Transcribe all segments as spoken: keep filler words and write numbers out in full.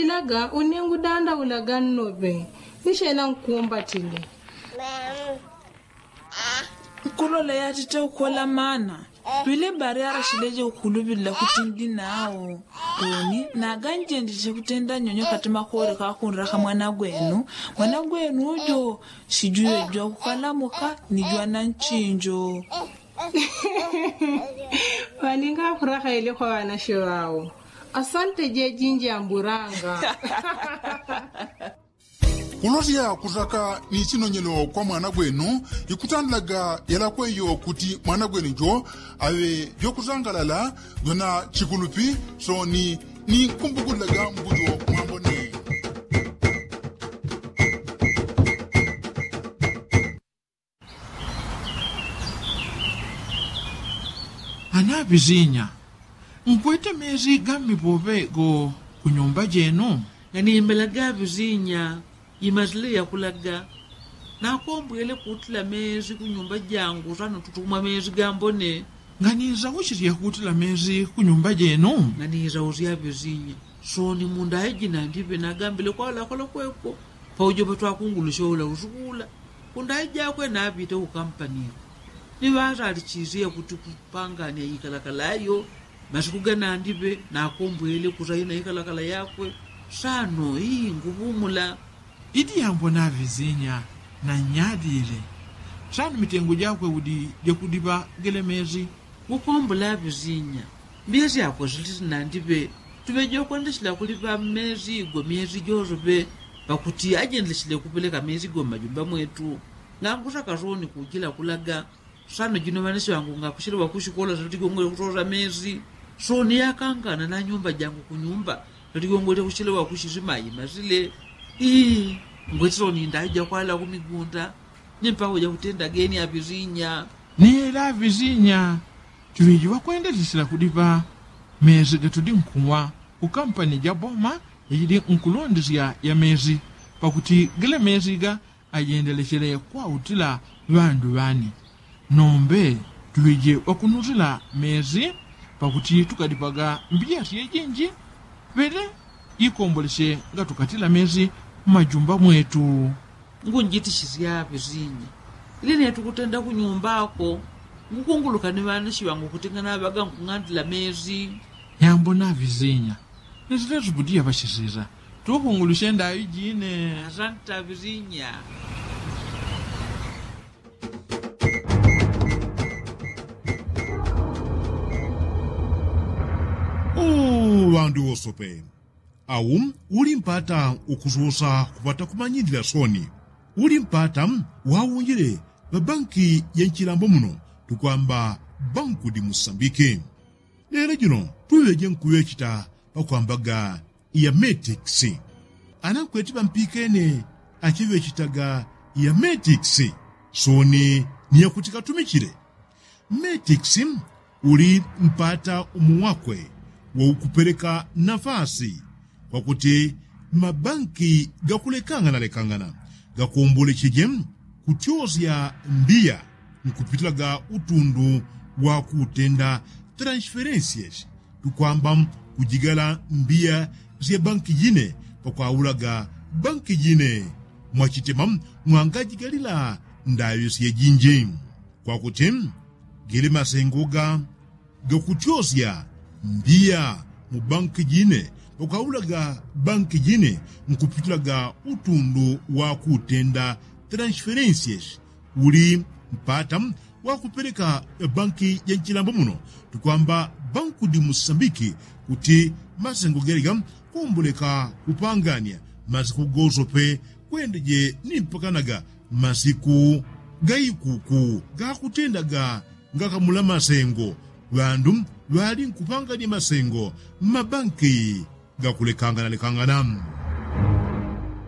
Ilaga unengu danda ulaga nnope. Nishena nkumbatile. Nkulola yatite ukola mana pele bari arashileje ukulupilila kuti ndi nao. Koni naganjendeje kutenda nyonyo kati makore kakunraka mwana gwenu. Mwana gwenu ujo sijuyejwa kukalamuka nijwa na nchinjo. Ŵaninga akurakaile kwa ŵanashe ŵao. Asante jejinji amburanga. Kulosya kusaka ni sinonyelo kwa mwana gwenu. Ikutandilaga yalakweyo kuti mwana gwenu jo aŵe vyokusangalala vyona chikulupi. Soni ni kumbukulilaga mbujo mwambone. Anaŵizinya, nkwete mezi gammipoŵe go kunyumba jenu? Nganimelaga ŵizinya. Imazile yakulaga. Nakombwele kutila mezi kunyumba jangu sano tutumwa mezi gambone. Nganizausisya kutila mezi kunyumba jenu? Nganizausya ŵizinya. Soni mundaiji nandiŵe nagambile kwalakola kweko. Paujo ŵatwakungulusya ula usukula. Kundai jakwe naŵite kukampaniko. Ni ŵasalichisye kuti kupangania ikalakala yo. Masiku ganandiŵe nakombwele kusaina ikalakala yakwe. Sano ii nguŵumula. Idi yambona ŵizinya na nyadile. Sano mitengo jakwe udi jakudiŵa gele mezi. Kukombola ŵizinya. Mbiya syakwe siliti nandiŵe. Tuŵeje kwendesila kuliŵa mezi go myezi josoŵe. Pakuti ajendelesile kupeleka mezi go mmajumba mwetu. Ngangusa kasoni kujila kulaga. Sano jino ŵanashe ŵangu ngakushelewa kushikola satigongole kusosa mezi. Soni yakangana na nyumba jangu kunyumba satigongole kushelewa kushisima imazile. Ii. Ngweti soni ndaija kwala kumigunda. Ni mpawo jakutenda geni aŵizinya. Ni ela aŵizinya. Tuŵiji ŵakwendesesela kudiŵa mezi gatudi nkuwa kukampani ja boma yajidi nkulondesya ya mezi. Pakuti gele mezi ga ajendelesele kwautila ŵandu ŵani. Nombe tuŵije ŵakunutila mezi. Pakuti tukadiŵaga mbiya syejinji. Ŵele ikombolesye ngatukatila mezi mmajumba mwetu. Ngunjitishisya ŵizinya. Ili netukutenda kunyumbako. Ngukunguluka ni ŵanashe ŵangu kuti nganaŵaga nkung'andila mezi. Yambona ŵizinya. Nisilesupudiya ŵashisisa. Tukungulusye ndaŵi jine. Asanta ŵizinya. Uu ŵandu ŵosope. Au uli mpata ukususa kupata kumanyilila soni. Uli mpata waunjile ŵabanki ya nchilambo muno tukwamba banku di musambiki. Lelo jino tuŵeje nkuŵechita pakwambaga ya metikisi. Ana nkweti ŵampikene achiŵechitaga ya metikisi. Soni ni yakuti katumichile. Metikisi uli mpata umo wakwe waukupeleka nafasi kwakuti mabanki gakulekangana lekangana gakombolecheje kutyosya mbiya nkupitilaga utundu wakutenda transferensiesi. Tukwamba kujigala mbiya sya banki jine pakwaulaga banki jine mwachitema mwangajigalila ndaŵi syejinji. Kwakuti gele masengo ga gakutyosya mbiya mu banki jine pakwaulaga banki jine nkupitilaga utundu wakutenda transferensiesi. Uli mpata wakupeleka banki ja nchilambo muno tukwamba banku di musambiki kuti masengo gelega komboleka kupangania masiku gosope kwendeje ni mpakanaga masiku gaikuku gakutendaga ngakamula masengo. Ŵandu ŵali nkupangania masengo mmabanki gakulekanganalekangana.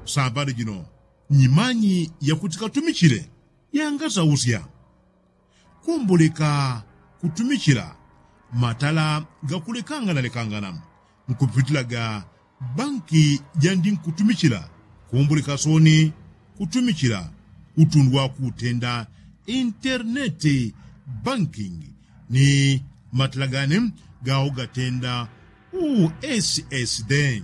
Sambadi jino nyimanyi yakuti katumichile yangasausya. Komboleka kutumichila matala gakulekanganalekangana nkupitilaga banki jandi nkutumichila. Komboleka soni kutumichila utundu wakutenda interneti bankingi ni matala gane gawo gatenda ussd.